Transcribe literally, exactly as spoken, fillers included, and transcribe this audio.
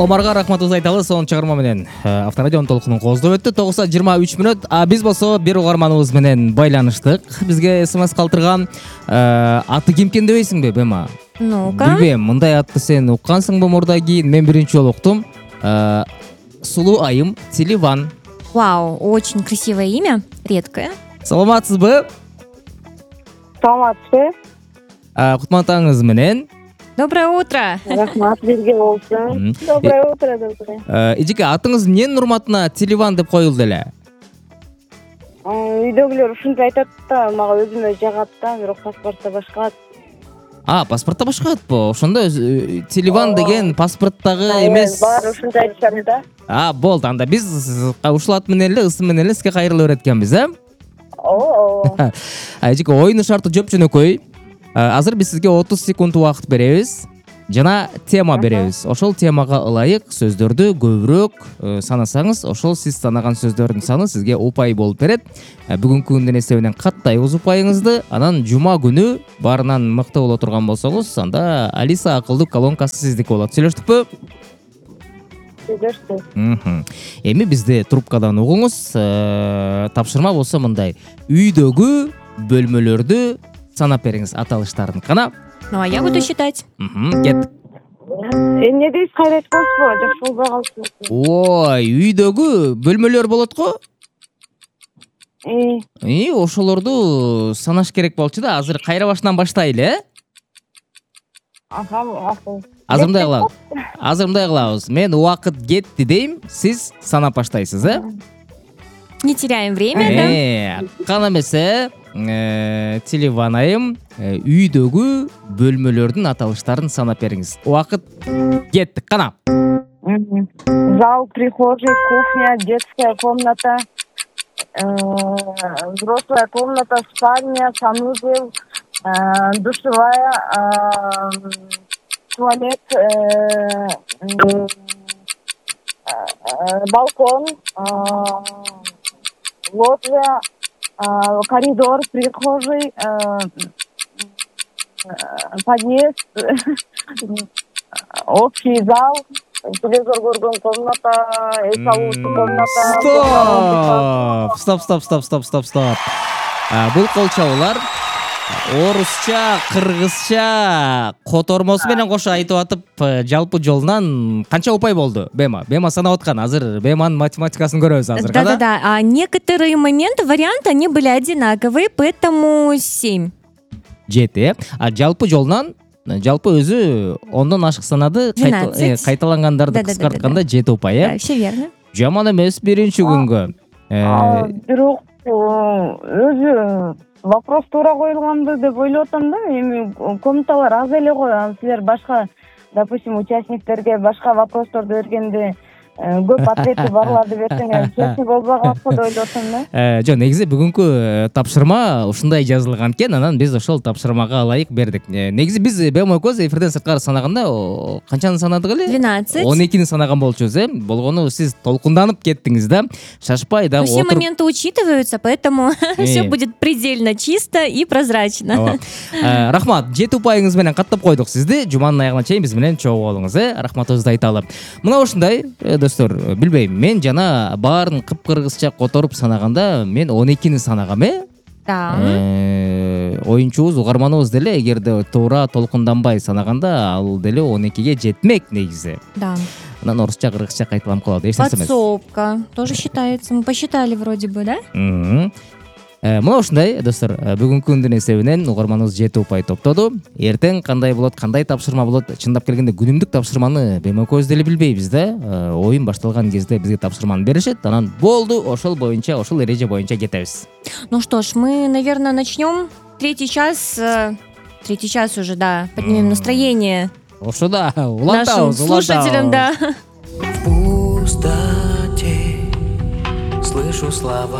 Омарга рахматыбызды айталы. Сонун чыгарма менен Авторадио толкунун кооздоп өттү. тогуз саат жыйырма үч мүнөт. А биз болсо бир угарманыбыз менен байланыштык. Бизге смс калтырган. Аты ким экен дебейсиңби, Бема? Ну-ка. Билбейм, мындай атты сен уккансыңбы мурда кийин? Мен биринчи жолу уктум. Сулуу айым Селиван. Вау, очень красивое имя, редкое. Саламатсызбы? Саламатсызбы? Кутман менен. Доброе утро. Рахмат, бирге болсун. Доброе утро, доброе. Эжеке, атыңыз эмненин урматына Селиван деп коюлду эле? Үйдөгүлөр ушинтип айтат да, мага өзүмө жагат да, бирок паспортто башка ат. А, паспортто башка атпы? Ошондо Селиван деген паспорттогу эмес. Баары ушинтип айтышат да. А, болду. Анда биз ушул ат менен эле, ысым менен эле сизге кайрыла берет экенбиз, э? Ооба. Эжеке, оюнун шарты жөп-жөнөкөй. Азыр биз сизге отуз секунд убакыт беребиз жана тема беребиз. Ошол темага ылайык сөздөрдү көбүрөөк санасаңыз, ошол сиз санаган сөздөрдүн саны сизге упай болуп берет. Бүгүнкү күндүн эсебинен каттайбыз упайыңызды. Анан жума күнү баарынан мыкты боло турган болсоңуз, анда Алиса акылдуу колонкасы сиздики болот. Сүйлөштүкпү? Сүйлөштүк. Эми бизди трубкадан угуңуз. Тапшырма болсо мындай: үйдөгү бөлмөлөрдү санап бериңиз, аталыштарын. Кана? Ну, а я буду считать. Кеттик. Эмне дейсиз, кайра айткансызбы? Жакшы болбой калыпсыз. Ой, үйдөгү бөлмөлөр болот го? И, ошолорду санаш керек болчу да. Азыр кайра башынан баштайлы, э? Аха, акыл. Азыр мындай кылабыз. Азыр мындай кылабыз. Мен убакыт кетти дейм, сиз санап баштайсыз, э? Не теряем время, да? Кана эмесе, Селиван айым, үйдөгү бөлмөлөрдүн аталыштарын санап бериңиз. Убакыт кетти. Кана? Зал, прихожий, кухня, детская комната, взрослая комната, спальня, санузел, душевая, туалет, балкон, лоджия, коридор, прихожий, подъезд, общий зал, телевизор көргөн комната, эс алуучу комната. Стоп, стоп, стоп, стоп, стоп, стоп. Бул кол чабуулар орусча, кыргызча котормосу менен кошо айтып атып, жалпы жолунан канча упай болду, Бема? Бема санап аткан. Азыр Беманын математикасын көрөбүз азыр. Да-да-да. А некоторые моменты, варианты, они были одинаковые, поэтому семь. Жети. А жалпы жолунан, жалпы өзү ондон ашык санады, кайталангандарды кыскартканда жети упай, э? Да, все верно. Жаман эмес биринчи күнгө. Бирок өзү вопрос туура коюлганды деп ойлоп атам да. Эми комнаталар аз эле го. Силер башка, допустим, участниктерге башка вопросторду бергенде көп ответи барларды берсеңер, чечим болбой калат го деп ойлоп атам да. Жок, негизи бүгүнкү тапшырма ушундай жазылган экен, анан биз ошол тапшырмага ылайык бердик. Негизи биз Бема экөөбүз эфирден сырткары санаганда канчаны санадык эле? двенадцать. он экини санаган болчубуз, э? Болгону сиз толкунданып кеттиңиз да. Шашпай да. Все моменты учитываются, поэтому все будет предельно чисто и прозрачно. Рахмат, жети упайыңыз менен каттап койдук сизди. Жуманын аягына чейин биз менен чогуу болуңуз, э? Рахматыбызды айталы. Мына ушундай, достор, билбейм, мен жана баарын кыпкыргызча которуп санаганда мен он экини санагам, э? Да. Оюнчубуз, угарманыбыз деле эгерде туура толкунданбай санаганда, ал деле он экиге жетмек негизи. Да. Анан орусча, кыргызча кайталанып калат. Эч нерсе эмес. Подсобка тоже считается. Мы посчитали вроде бы, да? Мына ушундай, достор, бүгүнкү күндүн эсебинен угарманыбыз жети упай топтоду. Эртең кандай болот, кандай тапшырма болот? Чындап келгенде күнүмдүк тапшырманы Бема экөөбүз деле билбейбиз да. Оюн башталган кезде бизге тапшырманы беришет, анан болду, ошол боюнча, ошол эреже боюнча кетебиз. Ну что ж, мы, наверное, начнем. Третий час, третий час уже, да, поднимем настроение. Ошо да, улантабыз, нашим слушателям, да. В пустоте слышу слова